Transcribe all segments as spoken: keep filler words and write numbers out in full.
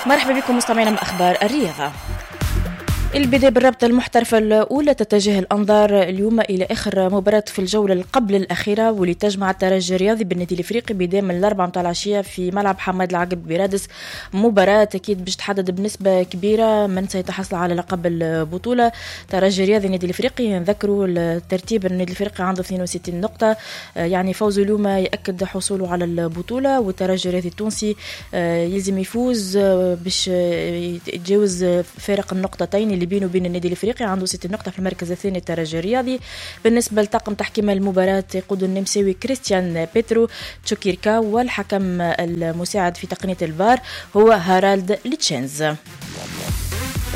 مرحبا بكم مستمعينا من أخبار الرياضة. البداية بالرابطة المحترفة الأولى، تتجه الأنظار اليوم إلى آخر مباراة في الجولة قبل الأخيرة واللي تجمع الترجي الرياضي بالنادي الإفريقي بداية من الأربعة متاع العشية في ملعب حماد العقب برادس. مباراة أكيد باش تحدد بنسبة كبيرة من سيتحصل على لقب البطولة. ترجي الرياضي النادي الإفريقي، نذكروا الترتيب، النادي الإفريقي عنده اثنين وستين نقطة، يعني فوزه اليوم يأكد حصوله على البطولة، والترجي الرياضي التونسي يلزم يفوز باش يتجاوز فارق النقطتين اللي بينه وبين النادي الافريقي، عنده ستين نقطة في المركز الثاني الترجي الرياضي. بالنسبة لطاقم تحكيم المباراة يقود النمساوي كريستيان بيترو تشوكيركا، والحكم المساعد في تقنية الفار هو هارالد ليتشينز.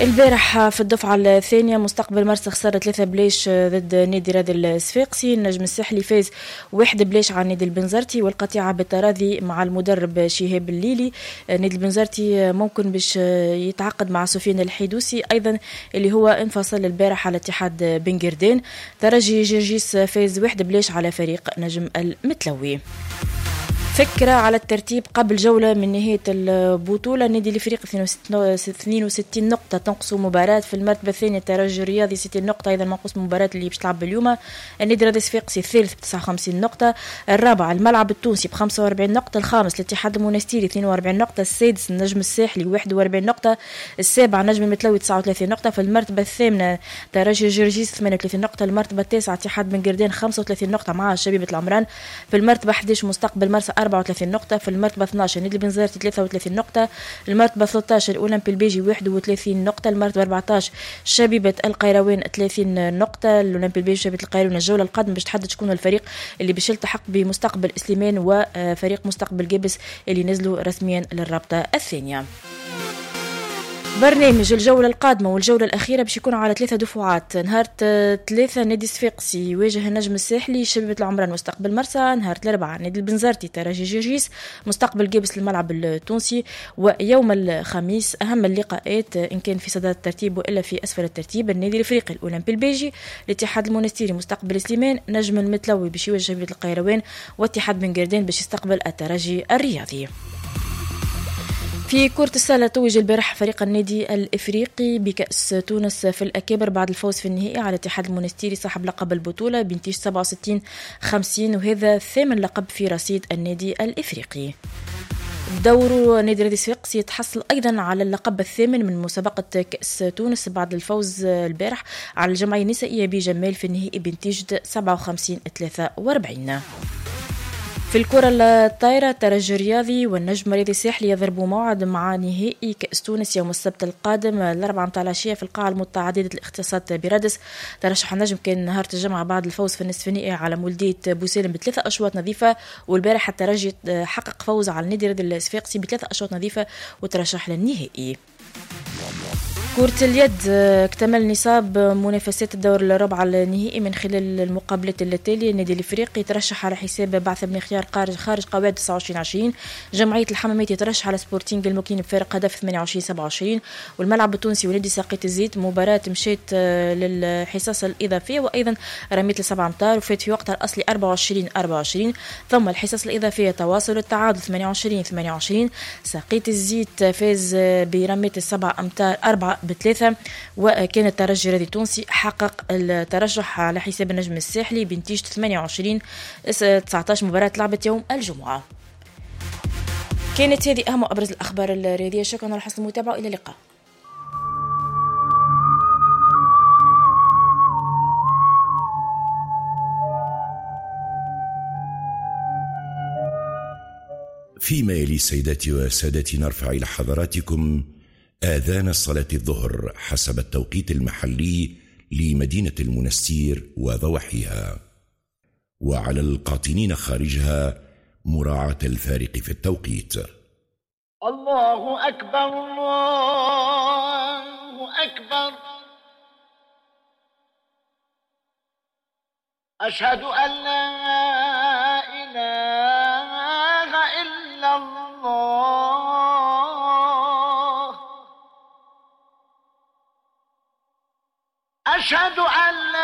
البارح في الدفعة الثانية مستقبل مرسى خسر ثلاثة بلاش ضد نادي راد الصفاقسي. النجم الساحلي فاز واحد بلاش على نادي البنزرتي، والقطيعة بالتراضي مع المدرب شهاب الليلي. نادي البنزرتي ممكن باش يتعاقد مع سفيان الحيدوسي أيضا اللي هو انفصل البارح على اتحاد بن قردان. ترجي جرجيس فاز واحد بلاش على فريق نجم المتلوي. فكرة على الترتيب قبل جولة من نهاية البطولة، النادي الإفريقي اثنين وستين نقطة تنقص مباراة. في المرتبة الثانية الترجي الرياضي ستين نقطة أيضا منقص مباراة اللي باش تلعب اليوم. النادي الرياضي الصفاقسي الثالث ب تسعة وخمسين نقطة، الرابع الملعب التونسي ب خمسة وأربعين نقطة، الخامس الاتحاد المونستيري اثنين وأربعين نقطة، السادس النجم الساحلي واحد وأربعين نقطة، السابع نجم المتلوي تسعة وثلاثين نقطة، في المرتبة الثامنة ترجي جرجيس ثمانية وثلاثين نقطة، المرتبة التاسعة اتحاد بن قردان خمسة وثلاثين نقطة مع شبيبة العمران، في المرتبة أحد عشر مستقبل مرسى أربعة وثلاثين نقطة، في المرتبة اثنا عشر نادي البنزرتي ثلاثة وثلاثين نقطة، المرتبة ثلاثة عشر الأولمبي البيجي واحد وثلاثين نقطة، المرتبة أربعة عشر شبيبة القيروان ثلاثين نقطة. الأولمبي البيجي شبيبة القيروان الجولة القادمة باش تحدد شكون الفريق اللي باش يلتحق بمستقبل سليمان وفريق مستقبل جابس اللي نزلوا رسميا للرابطة الثانية. برنامج الجولة القادمة والجولة الأخيرة باش يكون على ثلاثة دفعات. نهار ثلاثة نادي الصفاقسي يواجه النجم الساحلي شبيبة العمران مستقبل مرسى. نهار الأربعاء نادي البنزرتي ترجي جرجيس مستقبل جابس الملعب التونسي. ويوم الخميس أهم اللقاءات إن كان في صدارة الترتيب وإلا في أسفل الترتيب، النادي الإفريقي الأولمبي البيجي، الاتحاد المونستيري مستقبل سليمان، نجم المتلوي باش يواجه شبيبة القيروان، واتحاد بن قردان باش يستقبل الترجي الرياضي. في كرة السلة توج البارح فريق النادي الإفريقي بكأس تونس في الأكابر بعد الفوز في النهائي على الاتحاد المونستيري صاحب لقب البطولة بنتيجة سبعة وستين خمسين، وهذا ثامن لقب في رصيد النادي الإفريقي. بدوره نادي الرياضي الصفاقسي يتحصل أيضا على اللقب الثامن من مسابقة كأس تونس بعد الفوز البارح على الجمعية النسائية بجمال في النهائي بنتيجة سبعة وخمسين ثلاثة وأربعين. في الكرة الطايرة الترجي الرياضي والنجم الرياضي الساحلي يضربوا موعد مع نهائي كأس تونس يوم السبت القادم الأربعة متاع العشية في القاعة المتعددة الاختصاصات برادس. ترشح النجم كان نهار الجمعة بعد الفوز في النصف النهائي على مولدية بوسالم بثلاثة أشواط نظيفة، والبارح الترجي حقق فوز على النادي الرياضي الصفاقسي بثلاثة أشواط نظيفة وترشح للنهائي. كرة اليد اكتمل نصاب منافسات الدور الربع النهائي من خلال المقابلات التالية. النادي الافريقي ترشح على حساب بعث بن خيار خارج قواعد تسعة وعشرين عشرين، جمعية الحمامات يترشح على سبورتينغ المكين بفارق هدف ثمانية وعشرين سبعة وعشرين، والملعب التونسي ونادي ساقية الزيت مباراة مشات للحصص الإضافية وأيضا رميت لسبعة أمتار وفات في وقتها الأصلي أربعة وعشرين أربعة وعشرين، ثم الحصص الإضافية تواصل التعادل ثمانية وعشرين ثمانية وعشرين، ساقية الزيت فاز برمية السبعة أمتار أربعة بثلاثة، وكان الترجي الرياضي التونسي حقق الترشح على حساب النجم الساحلي بنتيجة ثمانية وعشرين تسعة عشر مباراة لعبت يوم الجمعة. كانت هذه أهم وأبرز الأخبار الرياضية. شكرا على حسن المتابعة وإلى اللقاء. فيما يلي سيداتي وسادتي نرفع إلى حضراتكم آذان صلاة الظهر حسب التوقيت المحلي لمدينة المنستير وضواحيها، وعلى القاطنين خارجها مراعاة الفارق في التوقيت. الله أكبر الله أكبر، أشهد أن لا إله إلا الله، أشهد أن لا